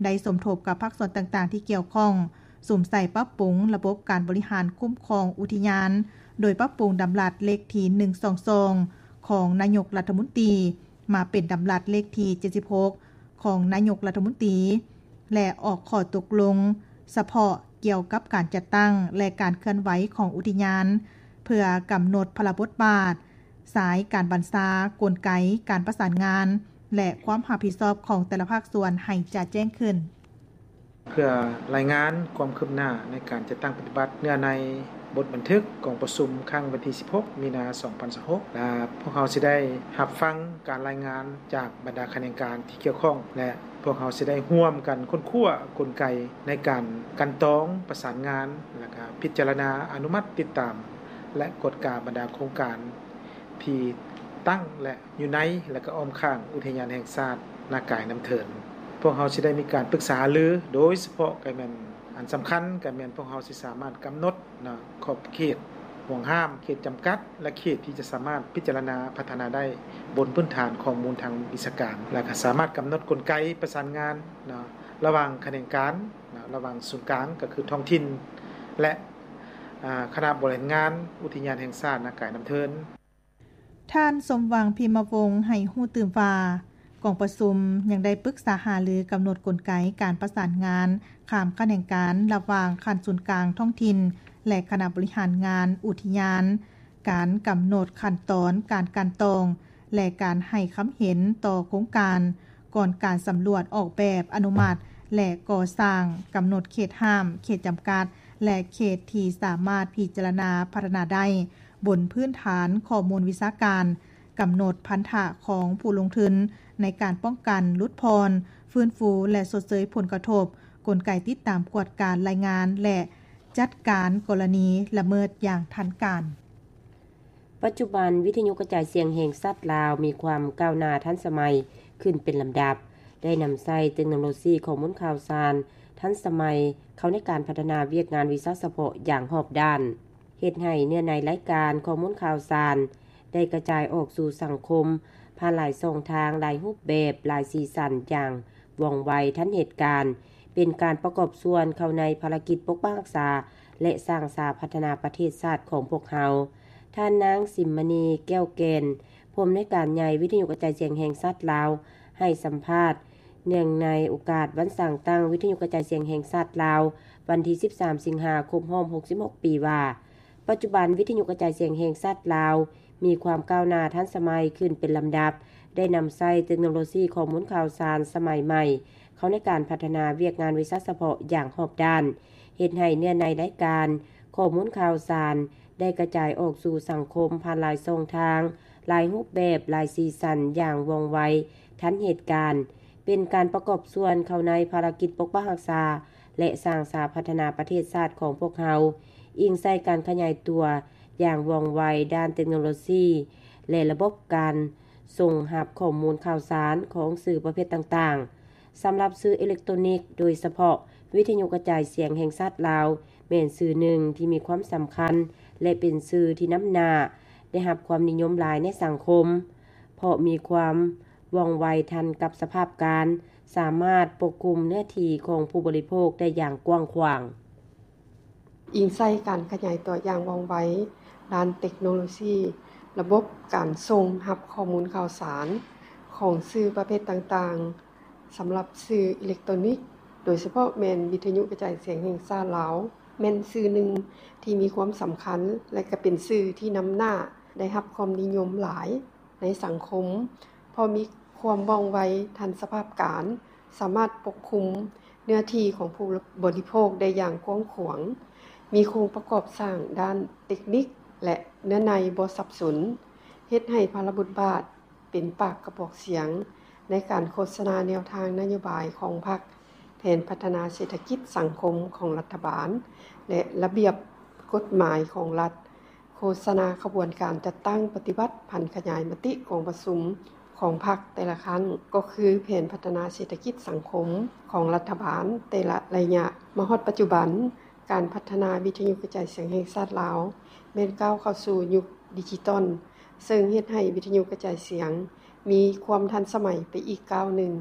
ໄດ້ສົມທົບກັບພາກສ່ວນຕ່າງໆທີ່ກ່ຽວຂ້ອງ, ສຸມໃສ່ປັບປຸງລະບົບການບໍລິຫານຄຸ້ມຄອງອຸທິຍານ, ໂດຍປັບປຸງດຳລັດເລກທີໜຶ່ງສອງສອງ ຂອງນາຍົກລັດຖະມົນຕີ ມາເປັນດຳລັດເລກທີເຈັດສິບຫົກ ຂອງນາຍົກລັດຖະມົນຕີ ແລະ ອອກຂໍ້ຕົກລົງສະເພາະກ່ຽວກັບການຈັດຕັ້ງ ແລະ ການເຄື່ອນໄຫວຂອງອຸທິຍານ, ເພື່ອກຳນົດພາລະບົດບາດ, ສາຍການບັນຊາ, ກົນໄກການປະສານງານ ແລະ ຄວາມຮັບຜິດຊອບຂອງແຕ່ລະພາກສ່ວນໃຫ້ຈະແຈ້ງຂຶ້ນ. ເພື່ອລາຍງານຄວາມຄືບໜ້າໃນການຈັດຕັ້ງປະຕິບັດເນື້ອໃນບົດບັນທຶກກອງປະຊຸມຄັ້ງວັນທີສິບຫົກ ມີນາ ສອງພັນຊາວຫົກ ແລະ ພວກເຮົາຊິໄດ້ຮັບຟັງການລາຍງານຈາກບັນດາຂະແໜງການທີ່ກ່ຽວຂ້ອງ ແລະ ພວກເຮົາຊິໄດ້ຮ່ວມກັນຄົ້ນຄວ້າກົນໄກໃນການກັ່ນຕອງ, ປະສານງານ ແລະ ກະພິຈາລະນາ, ອະນຸມັດ, ຕິດຕາມ ແລະ ກວດກາບັນດາໂຄງການ ທີ່ຕັ້ງ ແລະ ຢູ່ໃນ ແລະ ກະອ້ອມຂ້າງອຸທິຍານແຫ່ງຊາດນາກາຍນ້ຳເທີນ. ພວກເຮົາຊິໄດ້ມີການປຶກສາຫາລື ໂດຍສະເພາະກະແມ່ນອັນສຳຄັນກະແມ່ນພວກເຮົາຊິສາມາດກຳນົດນະ ຂອບເຂດ, ຫ່ວງຫ້າມ, ເຂດຈຳກັດ ແລະ ເຂດທີ່ຈະສາມາດພິຈາລະນາພັດທະນາໄດ້ ບົນພື້ນຖານຂໍ້ມູນທາງວິຊາການ ແລະ ກະສາມາດກຳນົດກົນໄກປະສານງານນະ ລະຫວ່າງຂະແໜງການນະ ລະຫວ່າງສູນກາງ ກະຄືທ້ອງຖິ່ນ ແລະ ອາ ຄະນະບໍລິຫານງານອຸທິຍານແຫ່ງຊາດນາກາຍນ້ຳເທີນ. ທ່ານ ສົມຫວັງ ພິມມະວົງ ໃຫ້ຮູ້ຕື່ມວ່າ ກອງປະຊຸມຍັງໄດ້ປຶກສາຫາລືກຳນົດກົນໄກການປະສານງານຂ້າມຂະແໜງການລະຫວ່າງຂັ້ນສູນກາງທ້ອງຖິ່ນ ແລະ ຄະນະບໍລິຫານງານອຸທິຍານ, ການກຳນົດຂັ້ນຕອນການກັ່ນຕອງ ແລະ ການໃຫ້ຄຳເຫັນຕໍ່ໂຄງການ ກ່ອນການສຳຫຼວດອອກແບບອະນຸມັດ ແລະ ກໍ່ສ້າງ, ກຳນົດເຂດຫ້າມ, ເຂດຈຳກັດ ແລະ ເຂດທີ່ສາມາດພິຈາລະນາພັດທະນາໄດ້ ບົນພື້ນຖານຂໍ້ມູນວິຊາການ, ກຳນົດພັນທະຂອງຜູ້ລົງທຶນໃນການປ້ອງກັນ, ຫຼຸດຜ່ອນ, ຟື້ນຟູ ແລະ ຊົດເຊີຍຜົນກະທົບ, ກົນໄກຕິດຕາມກວດກາລາຍງານ ແລະ ຈັດການກໍລະນີລະເມີດຢ່າງທັນການ. ປັດຈຸບັນ, ວິທະຍຸກະຈາຍສຽງແຫ່ງຊາດລາວມີຄວາມກ້າວໜ້າທັນສະໄໝຂຶ້ນເປັນລຳດັບ, ໄດ້ນຳໃຊ້ເຕັກໂນໂລຊີຂໍ້ມູນຂ່າວສານທັນສະໄໝເຂົ້າໃນການພັດທະນາວຽກງານວິຊາສະເພາະຢ່າງຮອບດ້ານ. ເຮັດໃຫ້ເນື້ອໃນລາຍການຂໍ້ມູນຂ່າວສານໄດ້ກະຈາຍອອກສູ່ສັງຄົມຜ່ານຫຼາຍຊ່ອງທາງ, ຫຼາຍຮູບແບບ, ຫຼາຍສີສັນຢ່າງວ່ອງໄວທັນເຫດການ, ເປັນການປະກອບສ່ວນເຂົ້າໃນພາລະກິດປົກປັກຮັກສາ ແລະ ສ້າງສາພັດທະນາປະເທດຊາດຂອງພວກເຮົາ. ທ່ານນາງ ສິມມະນີ ແກ້ວແກ່ນ, ຜູ້ອຳນວຍການໃຫຍ່ວິທະຍຸກະຈາຍສຽງແຫ່ງຊາດລາວ ໃຫ້ສຳພາດ ເນື່ອງໃນໂອກາດວັນສ້າງຕັ້ງວິທະຍຸກະຈາຍສຽງແຫ່ງຊາດລາວ ວັນທີສິບສາມ ສິງຫາ ຄົບຮອບຫົກສິບຫົກປີວ່າ, ປັດຈຸບັນວິທະຍຸກະຈາຍສຽງແຫ່ງຊາດລາວມີຄວາມກ້າວໜ້າທັນສະໄໝຂຶ້ນເປັນລຳດັບ, ໄດ້ນຳໃຊ້ເຕັກໂນໂລຊີຂໍ້ມູນຂ່າວສານສະໄໝໃໝ່ເຂົ້າໃນການພັດທະນາວຽກງານວິຊາສະເພາະຢ່າງຮອບດ້ານ, ເຮັດໃຫ້ເນື້ອໃນລາຍການຂໍ້ມູນຂ່າວສານໄດ້ກະຈາຍອອກສູ່ສັງຄົມຜ່ານຫຼາຍຊ່ອງທາງ, ຫຼາຍຮູບແບບ, ຫຼາຍສີສັນຢ່າງວ່ອງໄວທັນເຫດການ, ເປັນການປະກອບສ່ວນເຂົ້າໃນພາລະກິດປົກປັກຮັກສາ ແລະ ສ້າງສາພັດທະນາປະເທດຊາດຂອງພວກເຮົາ, ອີງໃສ່ການຂະຫຍາຍຕົວຢ່າງວ່ອງໄວດ້ານເຕັກໂນໂລຊີ ແລະ ລະບົບການສົ່ງຮັບຂໍ້ມູນຂ່າວສານຂອງສື່ປະເພດຕ່າງໆ. ສຳລັບສື່ເອເລັກໂຕຣນິກ, ໂດຍສະເພາະວິທະຍຸກະຈາຍສຽງແຫ່ງຊາດລາວ, ແມ່ນຊື່ໜຶ່ງທີ່ມີຄວາມສຳຄັນ ແລະ ເປັນຊື່ທີ່ນຳໜ້າ ໄດ້ຮັບຄວາມນິຍົມຫຼາຍໃນສັງຄົມ ເພາະມີຄວາມວ່ອງໄວທັນກັບສະພາບການ, ສາມາດປົກຄຸມເນື້ອທີ່ຂອງຜູ້ບໍລິໂພກໄດ້ຢ່າງກວ້າງຂວາງ. ອີງໃສ່ການຂະຫຍາຍຕົວຢ່າງວ່ອງໄວດ້ານເຕັກໂນໂລຊີ, ລະບົບການສົ່ງຮັບຂໍ້ມູນຂ່າວສານຂອງສື່ປະເພດຕ່າງໆ ສຳລັບສື່ອີເລັກໂຕຣນິກ, ໂດຍສະເພາະແມ່ນວິທະຍຸກະຈາຍສຽງແຫ່ງຊາດລາວ, ແມ່ນສື່ໜຶ່ງທີ່ມີຄວາມສຳຄັນ ແລະ ກະເປັນສື່ທີ່ນຳໜ້າໄດ້ຮັບຄວາມນິຍົມຫຼາຍໃນສັງຄົມ ເພາະມີຄວາມວ່ອງໄວທັນສະພາບການ, ສາມາດປົກຄຸມເນື້ອທີ່ຂອງຜູ້ບໍລິໂພກໄດ້ຢ່າງກວ້າງຂວາງ, ມີໂຄງປະກອບສ້າງດ້ານເຕັກນິກ ແລະ ເນື້ອໃນບໍ່ສັບສົນ, ເຮັດໃຫ້ພາລະບົດບາດ ເປັນປາກກະບອກສຽງໃນການໂຄສະນາແນວທາງນະໂຍບາຍຂອງພັກ, ແຜນພັດທະນາເສດຖະກິດສັງຄົມຂອງລັດຖະບານ ແລະ ລະບຽບກົດໝາຍຂອງລັດ, ໂຄສະນາຂະບວນການຈັດຕັ້ງປະຕິບັດຜັນຂະຫຍາຍມະຕິກອງປະຊຸມຂອງພັກແຕ່ລະຄັ້ງ ກໍຄືແຜນພັດທະນາເສດຖະກິດສັງຄົມຂອງລັດຖະບານແຕ່ລະໄລຍະ. ມາຮອດປັດຈຸບັນ, ການພັດທະນາວິທະຍຸກະຈາຍສຽງແຫ່ງຊາດລາວ ແມ່ນກ້າວເຂົ້າສູ່ຍຸກດິຈິຕອນ, ເຊິ່ງເຮັດໃຫ້ວິທະຍຸກະຈາຍສຽງມີຄວາມທັນສະໄໝໄປອີກກ້າວໜຶ່ງ,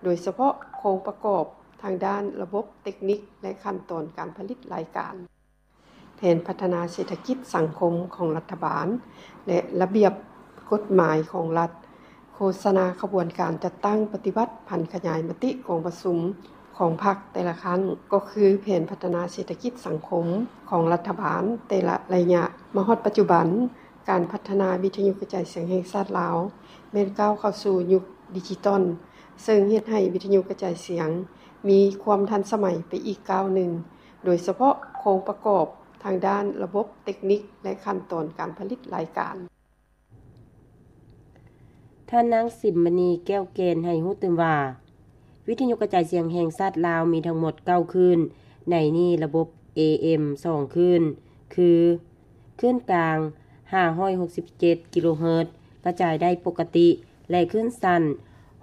ໂດຍສະເພາະໂຄງປະກອບທາງດ້ານລະບົບເຕັກນິກ ແລະ ຂັ້ນຕອນການຜະລິດລາຍການ, ແຜນພັດທະນາເສດຖະກິດສັງຄົມຂອງລັດຖະບານ ແລະ ລະບຽບກົດໝາຍຂອງລັດ, ໂຄສະນາຂະບວນການຈັດຕັ້ງປະຕິບັດຜັນຂະຫຍາຍມະຕິກອງປະຊຸມຂອງພັກແຕ່ລະຄັ້ງ ກໍຄືແຜນພັດທະນາເສດຖະກິດສັງຄົມຂອງລັດຖະບານແຕ່ລະໄລຍະ. ມາຮອດປັດຈຸບັນ, ການພັດທະນາວິທະຍຸກະຈາຍສຽງແຫ່ງຊາດລາວ ແມ່ນກ້າວເຂົ້າສູ່ຍຸກດິຈິຕອນ, ເຊິ່ງເຮັດໃຫ້ວິທະຍຸກະຈາຍສຽງມີຄວາມທັນສະໄໝໄປອີກກ້າວໜຶ່ງ, ໂດຍສະເພາະໂຄງປະກອບທາງດ້ານລະບົບເຕັກນິກ ແລະ ຂັ້ນຕອນການຜະລິດລາຍການ. ທ່ານນາງ ສິມມະນີ ແກ້ວແກ່ນ ໃຫ້ຮູ້ຕື່ມວ່າ, ວິທະຍຸກະຈາຍສຽງແຫ່ງຊາດລາວມີທັງໝົດເກົ້າຄື້ນ, ໃນນີ້ລະບົບ ເອເອັມ ສອງຄື້ນ ຄື ຄື້ນກາງ ຫ້າຮ້ອຍຫົກສິບເຈັດ ກິໂລເຮີດ ກະຈາຍໄດ້ປົກກະຕິ ແລະ ຄື້ນສັ້ນ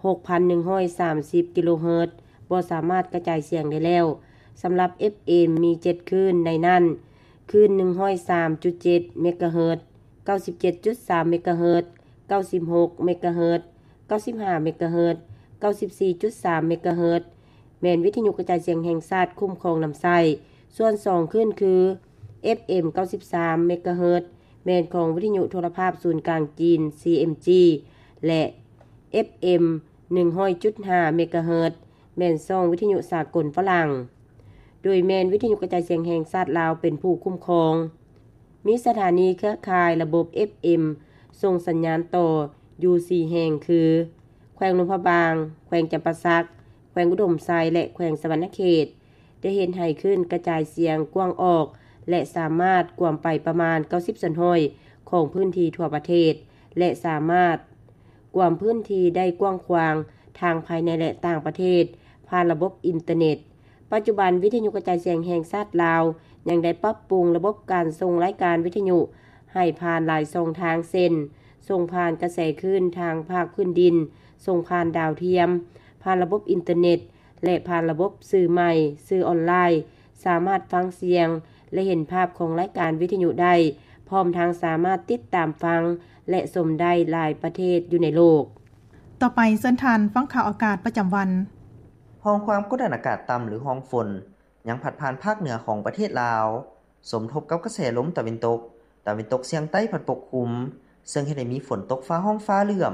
ຫົກພັນໜຶ່ງຮ້ອຍສາມສິບ ກິໂລເຮີດ ບໍ່ສາມາດກະຈາຍສຽງໄດ້ແລ້ວ. ສຳລັບ ເອັບເອັມ ມີເຈັດຄື້ນ, ໃນນັ້ນ ຄື້ນ ໜຶ່ງຮ້ອຍສາມຈຸດເຈັດ ເມກາເຮີດ, ເກົ້າສິບເຈັດຈຸດສາມ ເມກາເຮີດ, ເກົ້າສິບຫົກ ເມກາເຮີດ, ເກົ້າສິບຫ້າ ເມກາເຮີດ, ເກົ້າສິບສີ່ຈຸດສາມ ເມກາເຮີດ ແມ່ນວິທະຍຸກະຈາຍສຽງແຫ່ງຊາດຄຸ້ມຄອງນຳໃຊ້. ສ່ວນສອງຄື້ນຄື ເອັບເອັມ ເກົ້າສິບສາມ ເມກາເຮີດ ແມ່ນຂອງວິທະຍຸໂທລະພາບສູນກາງຈີນ ຊີເອັມຈີ ແລະ ເອັບເອັມ ໜຶ່ງຮ້ອຍຈຸດຫ້າ ເມກາເຮີດ ແມ່ນຊ່ອງວິທະຍຸສາກົນຝຣັ່ງ, ໂດຍແມ່ນວິທະຍຸກະຈາຍສຽງແຫ່ງຊາດລາວເປັນຜູ້ຄຸ້ມຄອງ. ມີສະຖານີເຄືອຂ່າຍລະບົບ ເອັບເອັມ ສົ່ງສັນຍານຕໍ່ຢູ່ສີ່ແຫ່ງຄື ແຂວງຫຼວງພະບາງ, ແຂວງຈຳປາສັກ, ແຂວງອຸດົມໄຊ ແລະ ແຂວງສະຫວັນນະເຂດ, ໄດ້ເຮັດໃຫ້ຄື້ນກະຈາຍສຽງກວ້າງອອກ ແລະ ສາມາດກວມໄປປະມານເກົ້າສິບສ່ວນຮ້ອຍຂອງພື້ນທີ່ທົ່ວປະເທດ ແລະ ສາມາດກວມພື້ນທີ່ໄດ້ກວ້າງຂວາງທາງພາຍໃນ ແລະ ຕ່າງປະເທດ ຜ່ານລະບົບອິນເຕີເນັດ. ປັດຈຸບັນ, ວິທະຍຸກະຈາຍສຽງແຫ່ງຊາດລາວ ຍັງໄດ້ປັບປຸງລະບົບການສົ່ງລາຍການວິທະຍຸໃຫ້ຜ່ານຫຼາຍຊ່ອງທາງ ເຊັ່ນ ສົ່ງຜ່ານກະແສຄື້ນທາງພາກພື້ນດິນ, ສົ່ງຜ່ານດາວທຽມ, ຜ່ານລະບົບອິນເຕີເນັດ ແລະ ຜ່ານລະບົບສື່ໃໝ່, ສື່ອອນລາຍ, ສາມາດຟັງສຽງ ແລະ ເຫັນພາບຂອງລາຍການວິທະຍຸໄດ້, ພ້ອມທັງສາມາດຕິດຕາມຟັງ ແລະ ຊົມໄດ້ຫຼາຍປະເທດຢູ່ໃນໂລກ. ຕໍ່ໄປເຊີນທ່ານຟັງຂ່າວອາກາດປະຈຳວັນ. ຮ່ອງຄວາມກົດດັນອາກາດຕ່ຳ ຫຼື ຮ່ອງຝົນ ຍັງພັດຜ່ານພາກເໜືອຂອງປະເທດລາວ, ສົມທົບກັບກະແສລົມຕາເວັນຕົກ, ຕາເວັນຕົກສຽງໃຕ້ພັດປົກຄຸມ, ເຊິ່ງເຮັດໃຫ້ມີຝົນຕົກຟ້າຮ້ອງຟ້າເຫຼື້ອມ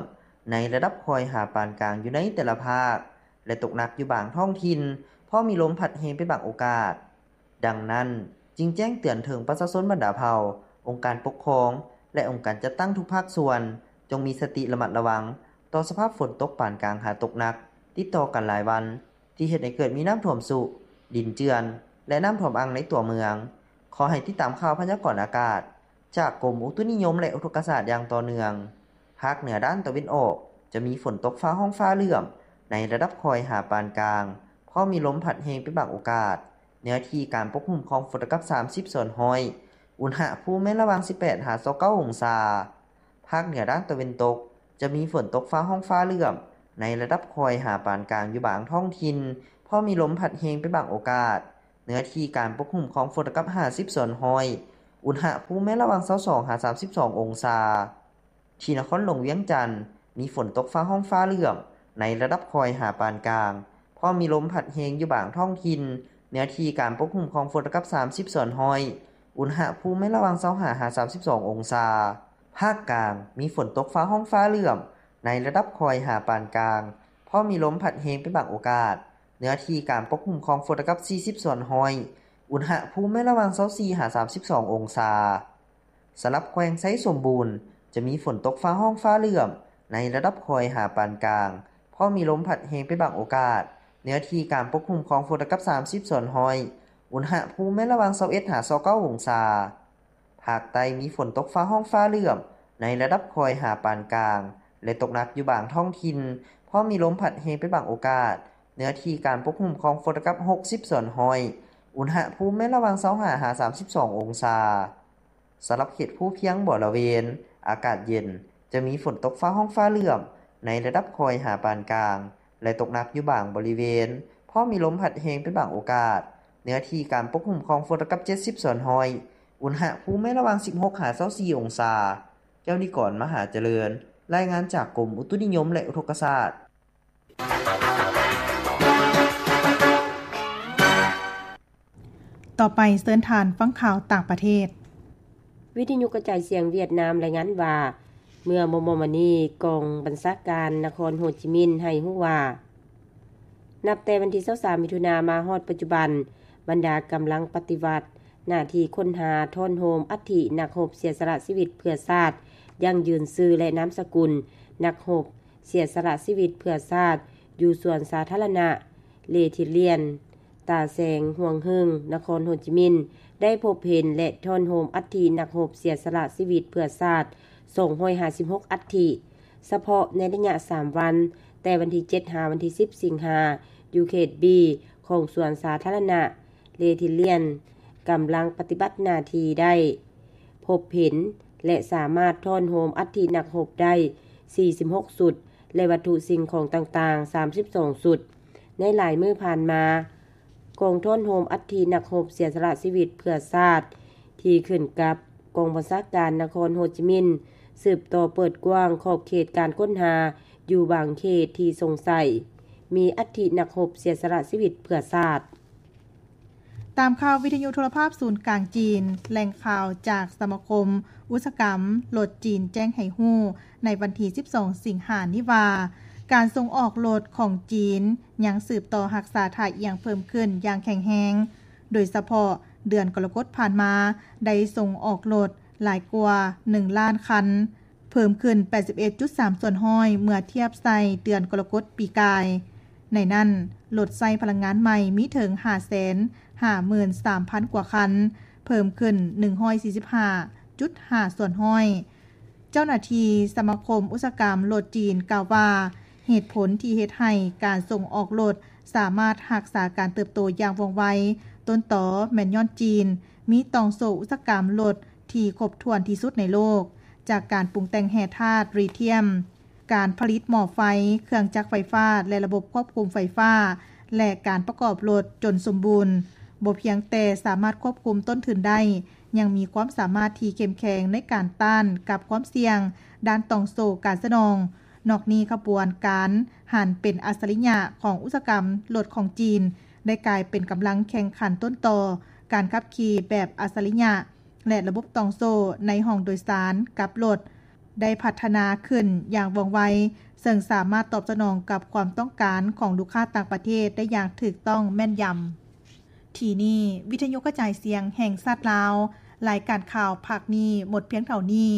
ໃນລະດັບຄ່ອຍຫາປານກາງຢູ່ໃນແຕ່ລະພາກ ແລະ ຕົກໜັກຢູ່ບາງທ້ອງຖິ່ນ, ພ້ອມມີລົມພັດແຮງເປັນບາງໂອກາດ. ດັ່ງນັ້ນ, ຈຶ່ງແຈ້ງເຕືອນເຖິງປະຊາຊົນບັນດາເຜົ່າ, ອົງການປົກຄອງ ແລະ ອົງການຈັດຕັ້ງທຸກພາກສ່ວນ, ຈົ່ງມີສະຕິລະມັດລະວັງຕໍ່ສະພາບຝົນຕົກປານກາງຫາຕົກໜັກ ຕິດຕໍ່ກັນຫຼາຍວັນ, ທີ່ເຮັດໃຫ້ເກີດມີນ້ຳຖ້ວມຊຸ, ດິນເຈື່ອນ ແລະ ນ້ຳຖ້ວມອັ່ງໃນຕົວເມືອງ. ຂໍໃຫ້ຕິດຕາມຂ່າວພະຍາກອນອາກາດຈາກກົມອຸຕຸນິຍົມ ແລະ ອຸທົກກະສາດຢ່າງຕໍ່ເນື່ອງ. ພາກເໜືອດ້ານຕາເວັນອອກ ຈະມີຝົນຕົກຟ້າຮ້ອງຟ້າເຫຼື້ອມໃນລະດັບຄ່ອຍຫາປານກາງ, ພ້ອມມີລົມພັດແຮງເປັນບາງໂອກາດ. ເນື້ອທີ່ການປົກຄຸມຂອງຝົນເທົ່າກັບສາມສິບສ່ວນຮ້ອຍ. ອຸນຫະພູມແມ່ນລະຫວ່າງສິບແປດຫາຊາວເກົ້າອົງສາ. ພາກເໜືອດ້ານຕາເວັນຕົກ ຈະມີຝົນຕົກຟ້າຮ້ອງຟ້າເຫຼື້ອມໃນລະດັບຄ່ອຍຫາປານກາງຢູ່ບາງທ້ອງຖິ່ນ, ພໍມີລົມພັດແຮງເປັນບາງໂອກາດ. ເນື້ອທີ່ການປົກຄຸມຂອງຝົນລະກັບຫ້າສິບສ່ວນຮ້ອຍ, ອຸນຫະພູມແມ່ນລະຫວ່າງຊາວສອງຫາສາມສິບສອງອົງສາ. ທີ່ນະຄອນຫຼວງວຽງຈັນ ມີຝົນຕົກຟ້າຮ້ອງຟ້າເຫຼື້ອມ ໃນລະດັບຄ່ອຍຫາປານກາງ, ພ້ອມມີລົມພັດແຮງຢູ່ບາງທ້ອງຖິ່ນ, ເນື້ອທີ່ການປົກຄຸມຂອງຝົນລະກັບສາມສິບສ່ວນຮ້ອຍ, ອຸນຫະພູມແມ່ນລະຫວ່າງຊາວຫ້າຫາສາມສິບສອງອົງສາ. ພາກກາງ ມີຝົນຕົກຟ້າຮ້ອງຟ້າເຫຼື້ອມ ໃນລະດັບຄ່ອຍຫາປານກາງ, ພ້ອມມີລົມພັດແຮງເປັນບາງໂອກາດ, ເນື້ອທີ່ການປົກຄຸມຂອງຝົນລະກັບສີ່ສິບສ່ວນຮ້ອຍ, ອຸນຫະພູມແມ່ນລະຫວ່າງຊາວສີ່ຫາສາມສິບສອງອົງສາ. ສຳລັບແຂວງໄຊສົມບູນ ຈະມີຝົນຕົກຟ້າຮ້ອງຟ້າເຫຼື້ອມ ໃນລະດັບຄ່ອຍຫາປານກາງ, ພ້ອມມີລົມພັດແຮງເປັນບາງໂອກາດ, ເນື້ອທີ່ການປົກຄຸມຂອງຝົນລະກັບສາມສິບສ່ວນຮ້ອຍ, ອຸນຫະພູມແມ່ນລະຫວ່າງຊາວເອັດຫາຊາວເກົ້າອົງສາ. ພາກໃຕ້ມີຝົນຕົກຟ້າຮ້ອງຟ້າເຫຼື້ອມ ໃນລະດັບຄ່ອຍຫາປານກາງ ແລະ ຕົກໜັກຢູ່ບາງທ້ອງຖິ່ນ, ພ້ອມມີລົມພັດແຮງເປັນບາງໂອກາດ, ເນື້ອທີ່ການປົກຄຸມຂອງຝົນລະກັບຫົກສິບສ່ວນຮ້ອຍ, ອຸນຫະພູມແມ່ນລະຫວ່າງຊາວຫ້າຫາສາມສິບສອງອົງສາ. ສຳລັບເຂດພູພຽງບໍລະເວນ ອາກາດເຢັນ, ຈະມີຝົນຕົກຟ້າຮ້ອງຟ້າເຫຼື້ອມ ໃນລະດັບຄ່ອຍຫາປານກາງ ແລະ ຕົກໜັກຢູ່ບາງບໍລິເວນ, ພ້ອມມີລົມພັດແຮງເປັນບາງໂອກາດ, ເນື້ອທີ່ການປົກຄຸມຂອງຝົນລະກັບເຈັດສິບສ່ວນຮ້ອຍ, ອຸນຫະພູມແມ່ນລະຫວ່າງສິບຫົກຫາຊາວສີ່ອົງສາ. ແກ້ວນິກອນ ມະຫາຈະເລີນ, ລາຍງານຈາກກົມອຸຕຸນິຍົມ ແລະ ອຸທົກກະສາດ. ຕໍ່ໄປເຊີນທ່ານຟັງຂ່າວຕ່າງປະເທດ. ວິທະຍຸກະຈາຍສຽງຫວຽດນາມລາຍງານວ່າ ເມື່ອມໍ່ໆມານີ້ ກອງບັນຊາການນະຄອນໂຮຈິມິນໃຫ້ຮູ້ວ່າ ນັບແຕ່ວັນທີຊາວສາມ ມິຖຸນາ ມາຮອດປັດຈຸບັນ, ບັນດາກຳລັງປະຕິບັດໜ້າທີ່ຄົ້ນຫາທ້ອນໂຮມອັດຖິນັກຮົບເສຍສະຫຼະຊີວິດເພື່ອຊາດ, ຢັ້ງຢືນຊື່ ແລະ ນາມສະກຸນນັກຮົບເສຍສະຫຼະຊີວິດເພື່ອຊາດ ຢູ່ສວນສາທາລະນະ ເລທິລຽນ ຕາແສງ ຮວງເຮິງ ນະຄອນໂຮຈິມິນ ໄດ້ພົບເຫັນ ແລະ ທ້ອນໂຮມອັດຖິນັກຮົບເສຍສະຫຼະຊີວິດເພື່ອຊາດ ສອງຮ້ອຍຫ້າສິບຫົກອັດຖິ. ສະເພາະໃນໄລຍະສາມວັນ, ແຕ່ວັນທີເຈັດ ຫາວັນທີສິບ ສິງຫາ, ຢູ່ເຂດບີ ຂອງສວນສາທາລະນະ ເລທິລຽນ ກຳລັງປະຕິບັດໜ້າທີ່ໄດ້ພົບເຫັນ ແລະ ສາມາດທ້ອນໂຮມອັດຖິນັກຮົບໄດ້ສີ່ສິບຫົກຊຸດ ແລະ ວັດຖຸສິ່ງຂອງຕ່າງໆສາມສິບສອງຊຸດ. ໃນຫຼາຍມື້ຜ່ານມາ, ກອງທ້ອນໂຮມອັດຖິນັກຮົບເສຍສະຫຼະຊີວິດເພື່ອຊາດ ທີ່ຂຶ້ນກັບກອງບັນຊາການນະຄອນໂຮຈິມິນ ສືບຕໍ່ເປີດກວ້າງຂອບເຂດການຄົ້ນຫາຢູ່ບາງເຂດທີ່ສົງໄສມີອັດຖິນັກຮົບເສຍສະຫຼະຊີວິດເພື່ອຊາດ. ຕາມຂ່າວວິທະຍຸໂທລະພາບສູນກາງຈີນ, ແຫຼ່ງຂ່າວຈາກສະມາຄົມອຸດສາຫະກຳລົດຈີນແຈ້ງໃຫ້ຮູ້ໃນວັນທີສິບສອງ ສິງຫານີ້ວ່າ ການສົ່ງອອກລົດຂອງຈີນຍັງສືບຕໍ່ຮັກສາທ່າອ່ຽງເພີ່ມຂຶ້ນຢ່າງແຂງແຮງ, ໂດຍສະເພາະເດືອນກໍລະກົດຜ່ານມາໄດ້ສົ່ງອອກລົດຫຼາຍກວ່າໜຶ່ງລ້ານຄັນ, ເພີ່ມຂຶ້ນແປດສິບເອັດຈຸດສາມສ່ວນຮ້ອຍເມື່ອທຽບໃສ່ເດືອນກໍລະກົດປີກາຍ. ໃນນັ້ນ, ລົດໃຊ້ພະລັງງານໃໝ່ມີເຖິງຫ້າແສນຫ້າໝື່ນສາມພັນກວ່າຄັນ, ເພີ່ມຂຶ້ນໜຶ່ງຮ້ອຍສີ່ສິບຫ້າຈຸດຫ້າສ່ວນຮ້ອຍ. ເຈົ້າໜ້າທີ່ສະມາຄົມອຸດສາຫະກຳລົດຈີນກ່າວວ່າ, ເຫດຜົນທີ່ເຮັດໃຫ້ການສົ່ງອອກລົດສາມາດຮັກສາການເຕີບໂຕຢ່າງວ່ອງໄວ, ຕົ້ນຕໍແມ່ນຍ້ອນຈີນມີຕ່ອງໂສ້ອຸດສາຫະກຳລົດ ທີ່ຄົບຖ້ວນທີ່ສຸດໃນໂລກ, ຈາກການປຸງແຕ່ງແຮ່ທາດຣີທຽມ, ການຜະລິດໝໍ້ໄຟ, ເຄື່ອງຈັກໄຟຟ້າ ແລະ ລະບົບຄວບຄຸມໄຟຟ້າ ແລະ ການປະກອບລົດຈົນສົມບູນ, ບໍ່ພຽງແຕ່ສາມາດຄວບຄຸມຕົ້ນທຶນໄດ້, ຍັງມີຄວາມສາມາດທີ່ເຂັ້ມແຂງໃນການຕ້ານກັບຄວາມສ່ຽງດ້ານຕ່ອງໂສ້ການສະໜອງ. ນອກນີ້, ຂະບວນການຫັນເປັນອັດສະລິຍະຂອງອຸດສາຫະກຳລົດຂອງຈີນ ໄດ້ກາຍເປັນກຳລັງແຂ່ງຂັນຕົ້ນຕໍການຂັບຂີ່ແບບອັດສະລິຍະ ແລະ ລະບົບຕ່ອງໂສ້ໃນຫ້ອງໂດຍສານກັບລົດໄດ້ພັດທະນາຂຶ້ນຢ່າງວ່ອງໄວ, ເຊິ່ງສາມາດຕອບສະໜອງກັບຄວາມຕ້ອງການຂອງລູກຄ້າຕ່າງປະເທດໄດ້ຢ່າງຖືກຕ້ອງແມ່ນຢຳ. ທີ່ນີ້ ວິທະຍຸກະຈາຍສຽງແຫ່ງຊາດລາວ, ລາຍການຂ່າວພາກນີ້ໝົດພຽງເທົ່ານີ້.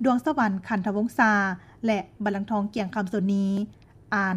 ດວງສະຫວັນ ຂັນທະວົງສາ ແລະ ບັນລັງທອງ ກຽງຄຳ ໂສນນີ ອ່ານ.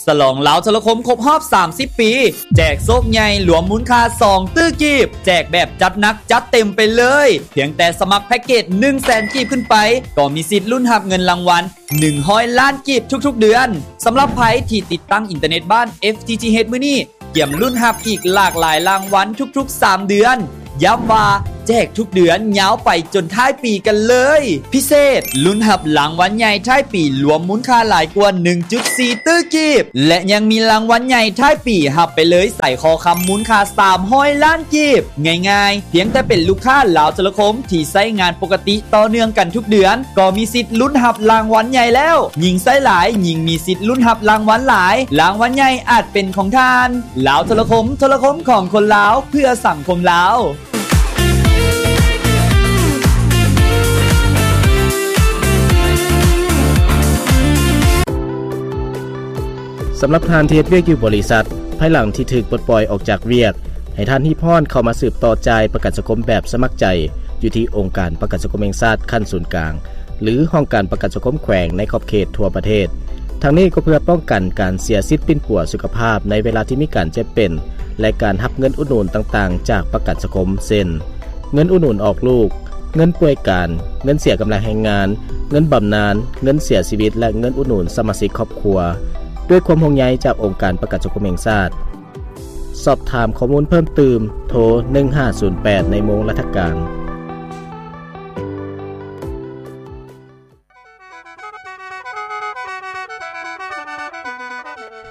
ສະຫຼອງລາວໂທລະຄົມຄົບຮອບສາມສິບປີ ແຈກໂຊກໃຫຍ່ລວມມູນຄ່າສອງຕື້ກີບ, ແຈກແບບຈັດໜັກຈັດເຕັມໄປເລີຍ. ພຽງແຕ່ສະໝັກແພັກເກດໜຶ່ງແສນກີບຂຶ້ນໄປ ກໍມີສິດລຸ້ນຮັບເງິນລາງວັນ ໜຶ່ງຮ້ອຍລ້ານກີບທຸກໆເດືອນ. ສຳລັບໃຜທີ່ຕິດຕັ້ງອິນເຕີເນັດບ້ານ ເອັຟ ທີ ທີ ເອດ ມື້ນີ້ ກຽມລຸ້ນຮັບອີກຫຼາກຫຼາຍລາງວັນທຸກໆສາມເດືອນ. ຢ້ຳວ່າ ແຈກທຸກເດືອນຍາວໄປຈົນທ້າຍປີກັນເລີຍ. ພິເສດ, ລຸ້ນຮັບລາງວັນໃຫຍ່ທ້າຍປີລວມມູນຄ່າຫຼາຍກວ່າໜຶ່ງຈຸດສີ່ຕື້ກີບ ແລະ ຍັງມີລາງວັນໃຫຍ່ທ້າຍປີຮັບໄປເລີຍສາຍຄໍຄຳມູນຄ່າສາມຮ້ອຍລ້ານກີບ. ງ່າຍໆ, ພຽງແຕ່ເປັນລູກຄ້າລາວໂທລະຄົມທີ່ໃຊ້ງານປົກກະຕິຕໍ່ເນື່ອງກັນທຸກເດືອນ ກໍມີສິດລຸ້ນຮັບລາງວັນໃຫຍ່ແລ້ວ. ຍິ່ງໃຊ້ຫຼາຍ, ຍິ່ງມີສິດລຸ້ນຮັບລາງວັນຫຼາຍ. ລາງວັນໃຫຍ່ອາດເປັນຂອງທ່ານ. ລາວໂທລະຄົມ, ໂທລະຄົມຂອງຄົນລາວ, ເພື່ອສັງຄົມລາວ. ສຳລັບທ່ານທີ່ເຮັດວຽກຢູ່ບໍລິສັດ, ພາຍຫຼັງທີ່ຖືກປົດປ່ອຍອອກຈາກວຽກ, ໃຫ້ທ່ານຮີບຮ້ອນເຂົ້າມາສືບຕໍ່ຈ່າຍປະກັນສັງຄົມແບບສະໝັກໃຈ ຢູ່ທີ່ອົງການປະກັນສັງຄົມແຫ່ງຊາດຂັ້ນສູນກາງ ຫຼື ຫ້ອງການປະກັນສັງຄົມແຂວງໃນຂອບເຂດທົ່ວປະເທດ. ທັງນີ້ກໍເພື່ອປ້ອງກັນການເສຍສິດປິ່ນປົວສຸຂະພາບໃນເວລາທີ່ມີການເຈັບເປັນ ແລະ ການຮັບເງິນອຸດໜູນຕ່າງໆຈາກປະກັນສັງຄົມ ເຊັ່ນ ເງິນອຸດໜູນອອກລູກ, ເງິນປ່ວຍການ, ເງິນເສຍກຳລັງແຮງງານ, ເງິນບຳນານ, ເງິນເສຍຊີວິດ ແລະ ເງິນອຸດໜູນສະມາຊິກຄອບຄົວ. ດ້ວຍຄວາມຫ່ວງໃຍຈາກອົງການປະກັນສັງຄົມແຫ່ງຊາດ. ສອບຖາມຂໍ້ມູນເພີ່ມຕື່ມ, ໂທ ໜຶ່ງຫ້າສູນແປດ ໃນໂມງລັດຖະການ.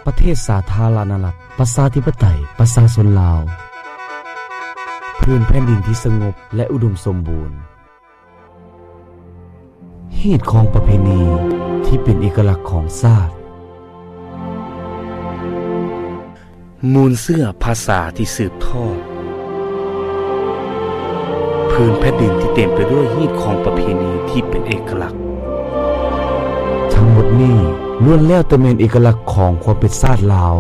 ປະເທດສາທາລະນະລັດ ປະຊາທິປະໄຕ ປະຊາຊົນລາວ, ພື້ນແຜ່ນດິນທີ່ສະຫງົບ ແລະ ອຸດົມສົມບູນ, ຮີດຄອງປະເພນີທີ່ເປັນເອກະລັກຂອງຊາດ. ມູນເຊື້ອພາສາທີ່ສືບທອດ, ພື້ນແຜ່ນດິນທີ່ເຕັມໄປດ້ວຍຮີດຄອງປະເພນີທີ່ເປັນເອກະລັກ. ທັງໝົດນີ້ລ້ວນແລ້ວແຕ່ແມ່ນເອກະລັກຂອງຄວາມເປັນຊາດລາວ.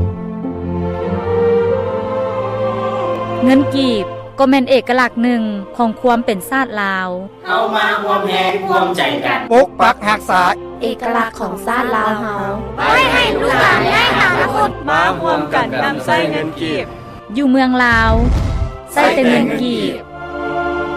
ເງິນກີບກໍແມ່ນເອກະລັກໜຶ່ງຂອງຄວາມເປັນຊາດລາວ. ເຮົາມາຮ່ວມແຮງຮ່ວມໃຈກັນ ປົກປັກຮັກສາເອກະລັກຂອງຊາດລາວເຮົາ ໄວ້ໃຫ້ລູກຫຼານແລະອະນາຄົດ ມາຮ່ວມກັນນຳໃຊ້ເງິນກີບ. ຢູ່ເມືອງລາວ ໃຊ້ແຕ່ເງິນກີບ.